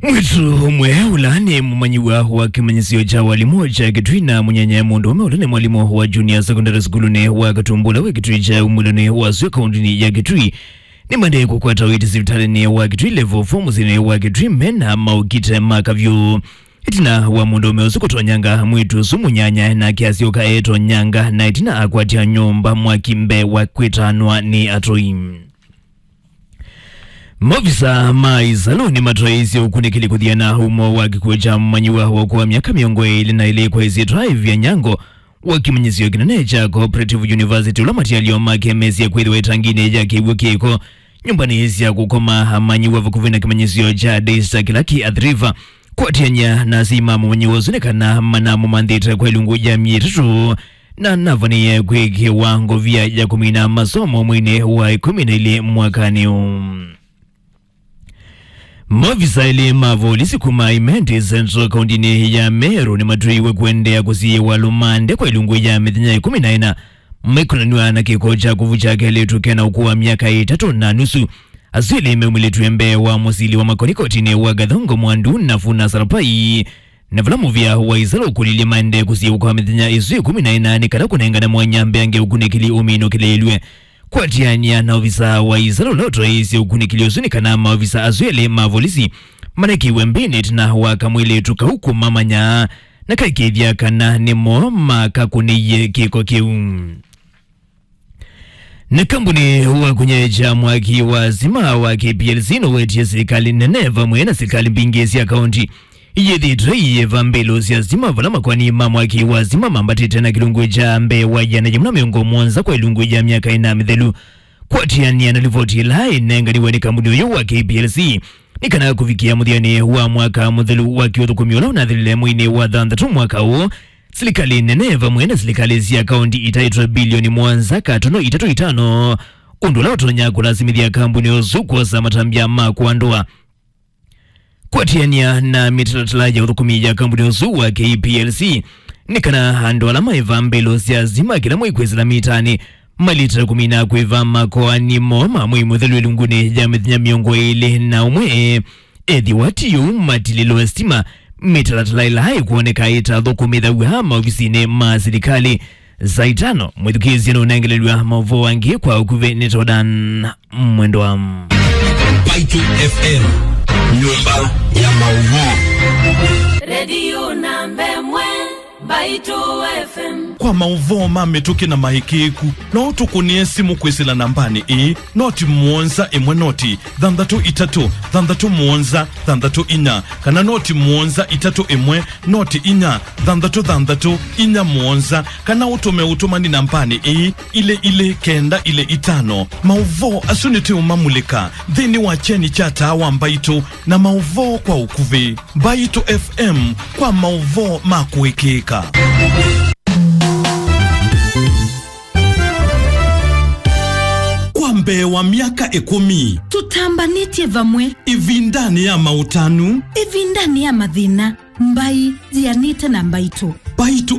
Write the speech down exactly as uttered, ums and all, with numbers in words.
Mwĩĩtu ũmwe ũla nĩ mũmanyĩw'a wa kĩmanyĩsyo kya walimũ kya Kitui na mũnyanyae mũndũũme ũla nĩ mwalimũ wa junior secondary school-nĩ wa Katumbu ũla wĩ Kitui kya umĩlonĩ wa sua kaũntĩnĩ ya Kitui nĩmaendee kũkwata ũiiti sivitalĩnĩ wa Kitui Level four mũsyĩnĩ wa Kitui mena maũkite ma kavyũ. Ĩtina wa mũndũũme ũsu kũtonyanga mwĩĩtu ũsu mũnyanyae, nake asyoka etonyanga na ĩtina akwatya nyũmba mwaki mbee wa kwĩtanwa nĩ atũi. Maovisa ma ĩsalũ nĩmatwaĩĩsye ũkunĩkĩli kũthiana ũmo wa kĩkw'ũ kya mũmanyĩw'a wa ũkũũ wa myaka mĩongo ĩlĩ na ĩlĩ kwa ĩsyĩtwa Ivia Nyango wa kĩmanyĩsyo kĩnene kya Cooperative University, ũla matialyo make mesĩe kwĩthĩwa ĩtanginĩ ya kĩw'ũ kĩko nyũmbanĩ sya kũkoma amanyĩw'a vakuvĩ na kĩmanyĩsyo kya Daystar kĩla kĩ Athi River. Kwatĩanĩa na asyai ma mũmanyĩw'a ũsu nĩ kana manamũmanthĩte kwa ilungu ya myei ĩtatũ, na navanĩie kwĩkĩwa ngovia ya kũmina masomo mweinĩ wa ĩkũmi na ilĩ mwakanĩ ũũ. Maovisa elĩ ma volisi kuma Imenti Central kaũntĩnĩ ya Meru nĩmatw'ĩiwe kũendeea kũsiĩĩwa lũmande kwa ilungu ya mĩthenya ĩkũmi na ĩna, maikonanw'a na kĩko kya kũvukya kelĩtu kena ũkũũ wa myaka ĩtatũ na nusu. Asu elĩ meumĩlĩtw'e mbee wa mũsili wa makoni kotinĩ wa Gathongo Mwandu na Funa Sarapai, na vala mũvĩa wa ĩsalũ ũkũlilye maendee kũsiĩĩwa kwa mĩthenya ĩsu ĩkũmi na ĩna nĩ kana kũnengane mwanya mbeange ũkunĩkĩli ũminũkĩlĩĩlw'e. Kwatĩanĩa na ovisa wa ĩsalũ ũla ũtwaĩĩsye ũkunĩkĩli ũsu nĩ kana maovisa asu elĩ ma volisi manekĩiwe mbĩnĩ ĩtina wa kamwĩlĩtu kau kũmamanya na kaikĩĩthya kana nĩmo makakũnĩie kĩko kĩu. Na kambuni wa kũnyaĩĩkya mwaki wa stima wa K P L C nũwetie silikalĩ nene vamwe na silikalĩ mbingĩ sya kaũnti iyĩthĩĩtwe iyĩva mbĩlũ sya stima vala makoani ma mwaki wa stima mambatĩte na kĩlungu kya mbee wa ĩana yĩmwe na mĩongo mũonza kwa ĩlungu ya myaka ĩna mĩthelu. Kwatĩanĩa na livoti ĩla ĩnenganiwe nĩ kambuni ũyũ wa K P L C, nĩ kana kũvikĩa mũthyanĩ wa mwaka mũthelu wa kĩũthũkũmi ũla ũnathilile mweinĩ wa thanthatũ mwaka ũũ, silikalĩ nene vamwe na silikalĩ sya kaũnti itaĩtwe bilioni mũonza katono itatũ itano, ũndũ ũla ũtonya kũlasimĩthya kambuni ũsu kwosa matambya ma kũandũa. Kwatĩanĩa na mĩtalatala ya ũthũkũmi ya kambuni ũsu wa K P L C, nĩ kana andũ ala maĩva mbĩlũ sya stima kĩla mwei kwĩsĩla mitanĩ malĩte kũmina kwĩva makoani moo ma mwei mũthelu ĩlungunĩ ya mĩthenya mĩongo ĩlĩ na ũmwe. Ethĩwa ti ũu, matilĩlwe stima. Mĩtalatala ĩla ĩkwoneka ĩtathũkũmĩthaw'a maovisinĩ ma silikalĩ. Saa itano, mwĩthukĩĩsye nũnengelelw'a maũvoo angĩ kwa ũkuvĩ nĩ Jordan Mwendwa. Mbaitũ F M, nyũmba ya maũvoo. Redio namba ĩmwe, Mbaitũ F M. Kwa maũvoo ma mĩtũkĩ na maĩkĩĩku, no ũtũkũnĩe simũ kwĩsĩla nambanĩ ĩĩ, noti mũonza ĩmwe noti thanthatũ itatũ thanthatũ mũonza thanthatũ inya, kana noti mũonza itatũ ĩmwe noti inya thanthatũ thanthatũ inya mũonza, kana ũtũme ũtũmani nambanĩ ĩĩ, ilĩ ilĩ kenda ilĩ itano. Maũvoo asu nĩtũũmamulĩka nthĩnĩ wa kyeni kya taa wa Mbaitũ na maũvoo kwa ũkuvĩ. Mbaitũ F M kwa maũvoo ma kũĩkĩĩka. Kwa mbee wa myaka ĩkũmi, tũtambanĩtye vamwe. Ĩvindanĩ ya maũtanu, ĩvindanĩ ya mathĩna, mbai yĩanĩte na Mbaitũ. Mbaitũ